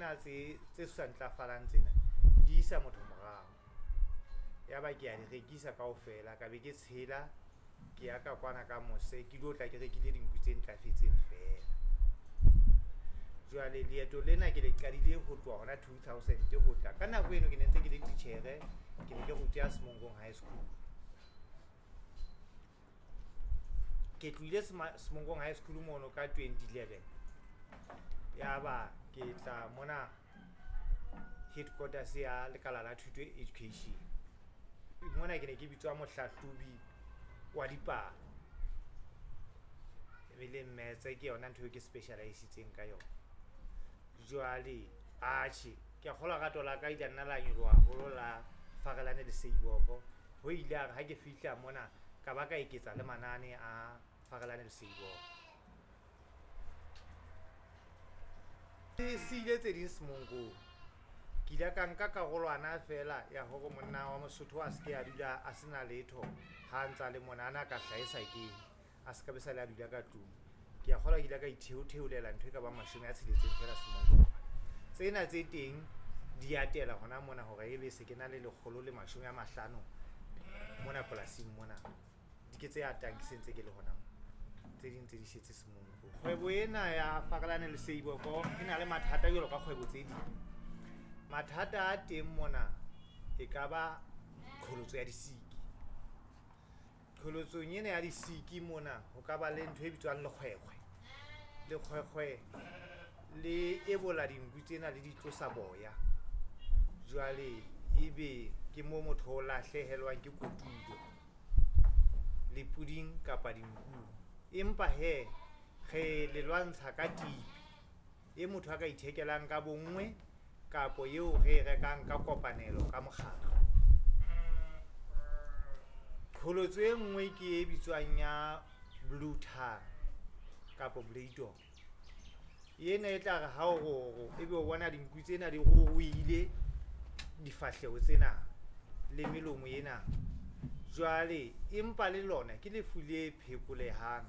Tsena tse sa ntlafalang tsena di isa motho morao. Ya ba ke a di rekisa kaofela, ka be ke tshela ke ya ka kwana ka mose ke lo tla ke rekile dinku tse ntlafetseng fela. Jwale leeto lena ke le qadile ho tloha hona 2000 ho tla. Ka nako eno ke ne ntse ke le titjhere, ke ne ke ruta Semonkong High School. Ke tlohile Semonkong High School mono ka 2011. Ya ba ke tla mona headquarters ya Lekala la Thuto Education. Mona ke ne ke bitswa mohlahlobi wa dipalo. E le maths ke yona ntho eo ke specialise-itseng ka yona. Jwale atjhe, ke a kgolwa rato la ka ile nna la nyoloha haholo la Farelane le Seiboko. Ho ile ya re ha ke fihla mona ka ba ka eketsa le manane a Farelane le Seiboko. Ke siile tse ding Semonkong. Ke ile ka nka karolwana fela ya hore monna wa Mosotho a se ke a dula a sena letho ha ntsa le mona, a na ka hlahisa keng, a se ka be sa le a dula ka tlung. Ke a kgolwa ke ile ka itheotheolela ntho e ka bang 60 fela Semonkong. Tsena tse teng di atela hona mona hore ebe se ke na le 150 mona polasing mona. Di ke tse atang ke sentse ke le hona mona. Tse ding tse di setse Semonkong. Kgwebo ena ya Farelane le Seiboko e na le mathata jwalo ka kgwebo tse ding. Mathata a teng mona e ka ba qholotso ya disiki. Qholotsong ena ya disiki mona ho ka ba le ntho e bitswang lekgwekgwe. Lekgwekgwe le ebola dinku tsena le di tlosa boya. Jwale ebe ke mo motho o lahlehelwang ke kotulo le puding kapa dinkung. Empa he re le lwantsha ka tipi e motho a ka ithekelang ka bonngwe kapo eo re e rekang ka kopanelo ka mokgatlo. Qholotso e nngwe ke e bitswang ya blue tongue kapo bladon. Ena e tla re ha o roro ebe o bona dinku tsena di ruruhile difahleho tsena le melomo ena. Jwale empa le lona ke lefu le phekolehang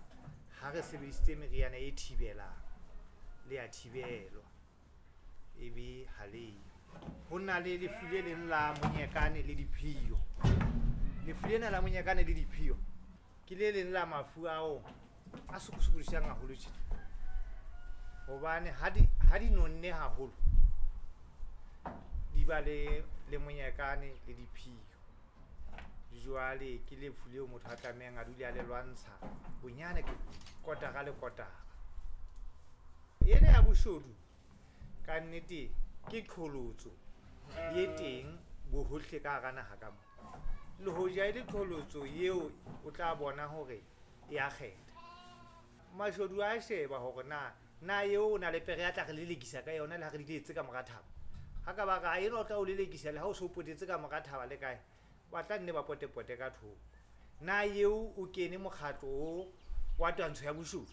ha re sebedisitse meriana e thibelang, le a thibelwa ebe ha leyo. Ho na le lefu le leng la monyekane le diphiyo. Lefu lena la monyekane le diphiyo ke le leng la mafu ao a sokodisang haholo tjena. Hobane ha di nonne haholo di ba le monyekane le diphiyo. Jwale ke lefu leo motho a tlamehang a dule a le lwantsha bonyane ke kotara le kotara. Ena ya boshodu ka nnete ke qholotso e teng bohohle ka hara naha ka mona. Le hoja e le qholotso eo o tla bona hore e a kgetha. Mashodu a sheba hore na eo o na le pere ya tla re lelekisa ka yona le ha re di letse ka mora thaba. Ha ka ba re, enwa o tla o lelekisa le ha o so potetse ka mora thaba le kae, ba tla nne ba potepote ka thoko. Na eo o kene mokgatlo o wa twantsho ya boshodu?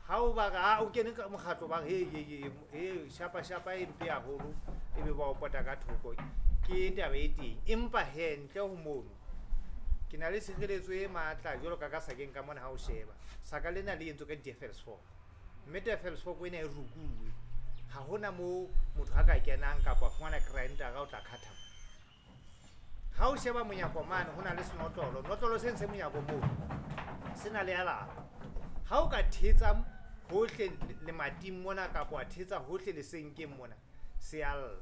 Ha o ba re, o kene ka mokgatlo, ba re, he, he, he, shapa, shapa e mpe haholo, ebe ba o pota ka thoko. Ke taba e teng. Empa he, ntle ho mono, ke na le tshireletso e matla jwalo ka sakeng ka mona ha o sheba. Saka lena le entswe ka di-Devil's Fork. Mme Devil's Fork ena e rukuwe. Ha hona moo motho a ka kenang kapa a fumana grinder o tla khatha. Ha o sheba monyako mane ho na le senotlolo. Notlolo se ntse monyako moo se na le alarm. Ha o ka thetsa hohle lemating mona kapa wa thetsa hohle lesenkeng mona, se a lla.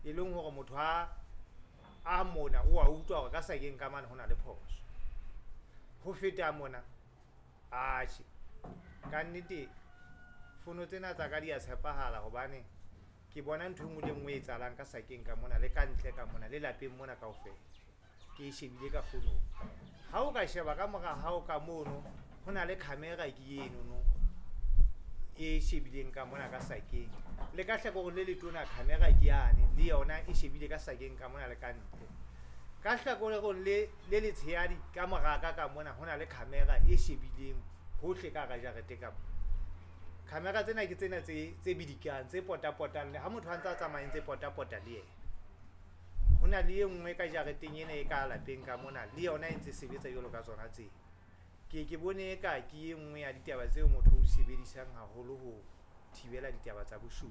E leng hore motho a mona o a utlwa hore ka sakeng ka mane ho na le phoso. Ho feta mona, atjhe, ka nnete fono tsena tsa ka di a tshepahala hobane ke bona ntho e nngwe le nngwe e etsahalang ka sakeng ka mona le ka ntle ka mona le lapeng mona kaofela. Ke e shebile ka fonong. Ha o ka sheba ka mora hao ka mono, ho na le camera ke eno no e shebileng ka mona ka sakeng. Le ka hlakoreng le letona camera ke yane, le yona e shebile ka sakeng ka mona le ka ntle. Ka hlakoreng le letshehadi ka mora ka mona ho na le camera e shebileng hohle ka hara jarete ka mona. Camera tsena ke tsena tse bidikang, tse potapotang, le ha motho a ntse a tsamaya ntse potapota le yena. Ho na le e nngwe ka jareteng ena e ka lapeng ka mona, le yona e ntse sebetsa jwalo ka tsona tsena. Ke bone eka ke e nngwe ya ditaba tseo motho o di sebedisang haholo ho thibela ditaba tsa boshodu.